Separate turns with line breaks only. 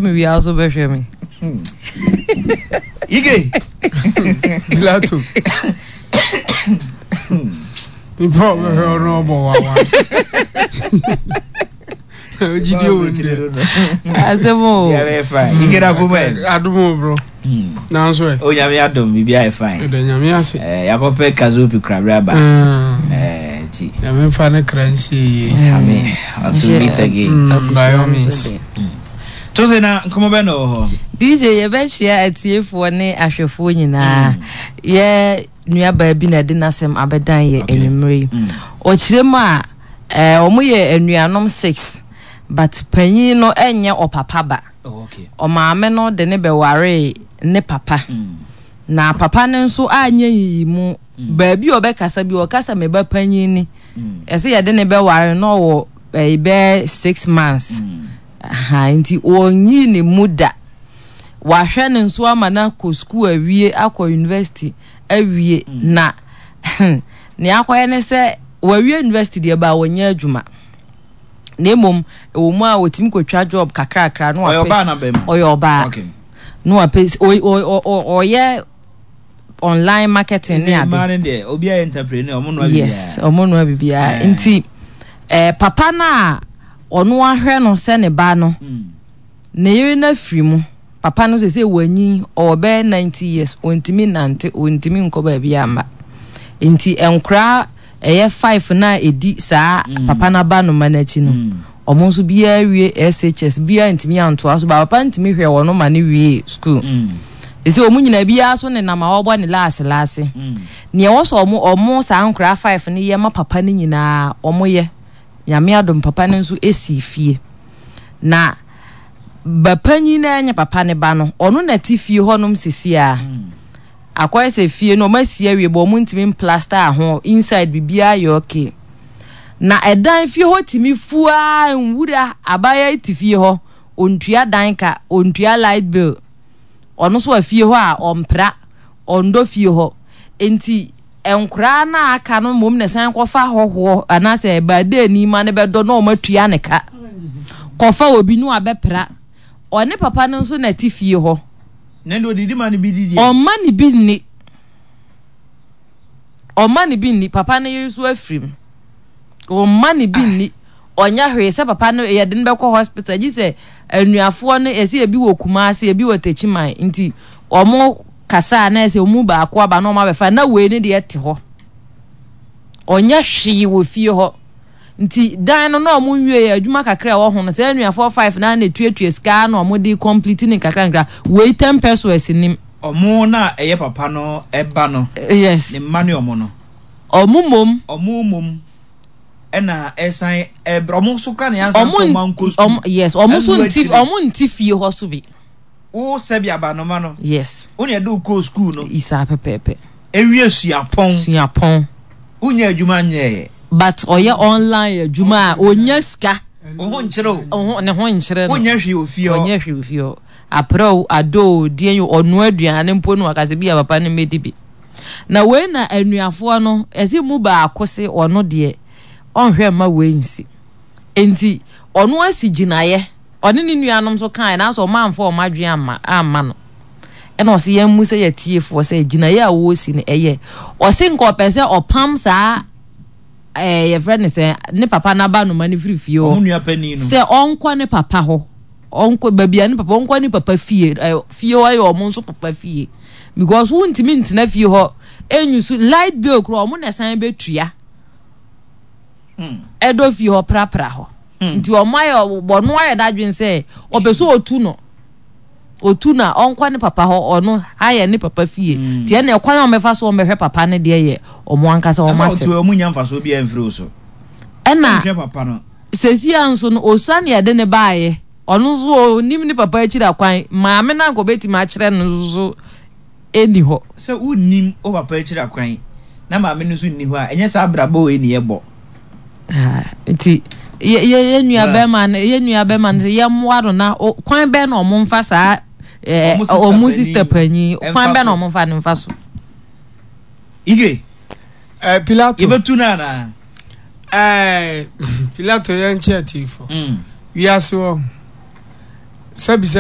me wie a wo so bɛhwɛ me.
Ige.
Pilato. Nipa a ɔbɛhwɛ ɔno ɔbɔ wawa. Ogyidi owu ndeɛ.
Asɛm o.
Yeah, very fine. Ige na kuma.
Adum o bro. Nanso ɛ.
O nyame adom biribi ayɛ fine.
Ɛdɛ nyame ase.
Eh, yakɔpɛ kazopi krabere aba. Eh, ti.
Nyame mfa ne kra nsie yie.
Amen. Until we meet again.
By all means.
Tose na nkɔmɔ bɛ na wɔ hɔ.
DJ yɛbɛhyia atiefoɔ ne ahwɛfoɔ nyinaa. Yɛ nuabaa bi na ɛde n'asɛm abɛdan yɛ anwummerɛ yi. Ɔkyerɛ mu a, eh, wɔn yɛ anuanom six, but panyin no ɛnyɛ ɔpapa ba.
Oh, okay.
Ɔmaame no de ne bɛwaree ne papa. Na papa no nso anyɛ nyiyimu. Baabi a ɔbɛkasa bi, ɔkasa me ba panyin ni. Ɛsɛ yɛde ne bɛware na ɔwɔ ɛyi bɛyɛ 6 months. Aha, nti ɔnyii ne mu da. Wahwɛ ne nso ama no akɔ sukuu awie, akɔ university awie. Na nea akɔyɛ ne sɛ wawie university deɛ ba wɔnyɛ adwuma. Na mmom ɛwɔ mu a wɔtumi kɔtwa job kakrakra na
Ɔyɛ
wapɛ.
ɔbaa na bɛrima?
Ɔyɛ ɔbaa.
Okay.
Na wapɛ ɔyɛ online marketing ne ade.
Mmaa no deɛ obi ayɛ entrepreneur ɔmo noa biribiara.
Yes, ɔmo noa biribiara.
Eh.
Nti eh, papa no a ɔno ahwɛ no sɛ ne ba no, ne yere no afiri mu. Papa no sɛ wanyin, ɔwɔ bɛyɛ 90 years, ɔntumi nante, ɔntumi nkɔ baabi amma. Nti nkoraa ɛyɛ five na ɛdi saa papa no aba no ma no akyi no, ɔmo nso biara wie SHS, biara ntumi antoa so, ba papa ntumi hwɛ wɔn ma no wie school. Ɛsɛ ɔmo nyinaa biara so nenam a ɔbɔ ne laase laase. Nea ɛwɔ sɛ ɔmo saa nkoraa five no yɛ ma papa no nyinaa ɔmo yɛ. Nyame adom papa no nso esi fie. Na ba panyin na ɛnyɛ papa ne ba no, ɔno na te fie hɔnom sisi a. Akɔyɛ sɛ fie no ɔmo asi awie bɔ ɔmo ntumi mplaster ho inside biribiara yɛ okay. Na ɛdan fie hɔ tumi fuaa nwura abaayewa yi te fie hɔ, ontua dan ka, ontua light bill. Ɔno nso wɔ fie hɔ a ɔmpra, ɔndɔ fie hɔ. Nti nkoraa no a aka no mmom na ɛsan kɔfa hɔhoɔ anaasɛ baadaani ma no bɛdɔ na wɔn atua ne ka. Kɔfa obi no abɛpra. Ɔne papa no nso na ɛte fie hɔ.
Na ɛnde odidi ma no bi di deɛ.
Ɔmma ne bi nni. Ɔmma ne bi nni. Papa no yere nso afiri mu. Ɔmma ne bi nni. Ɔnyɛ hwee sɛ papa no yɛde no bɛkɔ hospital gye sɛ anuafoɔ no yɛsɛ ebi wɔ Kumasi ebi wɔ Techiman nti wɔn kasa a na yɛsɛ wɔn mu baako aba na wɔn abɛfa na wei ne deɛ te hɔ. Ɔnyɛ hwee wɔ fie hɔ. Nti dan no na wɔn nwie yɛ adwuma kakra a ɛwɔ ho no sɛ anuafoɔ five na na etuatua sika na wɔn de complete ne nkakra nkakra wei 10 pesewas nim.
Ɔmo na ɛyɛ papa no ɛba no.
Yes.
Ne mma ne ɔmo no.
Ɔmo mom.
Ɔmo mom ɛna ɛsan ɛbrɛ ɔmo nso kora na yansan fɔ ɔmo ankɔ sukuu.
Ɔmo yes ɔmo nso nti ɔmo nti fie hɔ so bi.
Wo sɛbi abanoma no.
Yes.
Wo na ɛde wo kɔɔ sukuu no.
Isaa pɛpɛɛpɛ.
Ewie suapɔn.
Suapɔn.
Wonyɛ adwuma nyɛɛ.
But ɔyɛ online adwuma a onya sika.
Wo ho nkyerɛ o.
Wo ho ne ho nkyerɛ no.
Wonyɛ hwee wɔ fie hɔ.
Ɔnyɛ hwee wɔ fie hɔ. Aprɛ o, adɔ o, deɛn o, ɔnoa aduane mpo no waka sɛ bi a papa no mmɛdi bi. Na wei na anuafoɔ no, ɛse mu baako se ɔno deɛ ɔnhwɛ mma wei nsi. Enti ɔno asi gyinaeɛ, ɔne ne nuanom nso kaeɛ nanso ɔmo amfa ɔmo adwene amma amma no. Ɛna ɔse yɛn mu sɛ yɛtiefoɔ sɛ gyinaeɛ a wɔresi no ɛyɛ. Ɔse nka ɔpɛ sɛ ɔpam saa ɛɛ yɛfrɛ no sɛ ne papa n'abanoma no firi fie hɔ sɛ ɔnkɔ ne papa hɔ ɔnkɔ baabi a ne papa ɔnkɔ ne papa fie ɛ fie hɔ yɛ ɔmo nso papa fie because wontumi ntena fie hɔ enyu so light bill koraa ɔmo na ɛsan bɛtua ɛdɔ fie hɔ prapra hɔ nti ɔmo ayɛ ɔno ayɛ n'adwene sɛ ɔpɛ sɛ otu no otu na ɔnkɔ ne papa hɔ ɔno ayɛ ne papa fie nti ɛna ɛkwan a ɔmɛfa so ɔmɛhwɛ papa no deɛ yɛ ɔmo ankasa ɔmo
Ɛfa
asɛm
otu ɔmo nya mfasoɔ biara mfiri wo so.
Ɛna
Nhwɛ papa no.
sesia nso no osua ne yɛde ne baayɛ ɔno nso onim ne papa akyiri akwan maame no anka ɔbɛtumi akyerɛ no nso so ɛni hɔ.
Sɛ wonnim wo papa akyiri akwan na maame no nso nni hɔ a, ɛnyɛ saa abrabɔ wei ne yɛbɔ.
Ah, nti yɛ yɛ yɛ nua bɛrima no yɛ nua bɛrima no sɛ yɛmmoa no na kwan bɛn na ɔmo nfa saa ɛɛ ɔmo sista panyin kwan bɛn na ɔmo nfa ne nfa so.
Ige.
Pilato.
Yɛbɛtu no anaa?
Pilato yɛn kyɛ atiefo. Wiase wɔ sɛbi sɛ.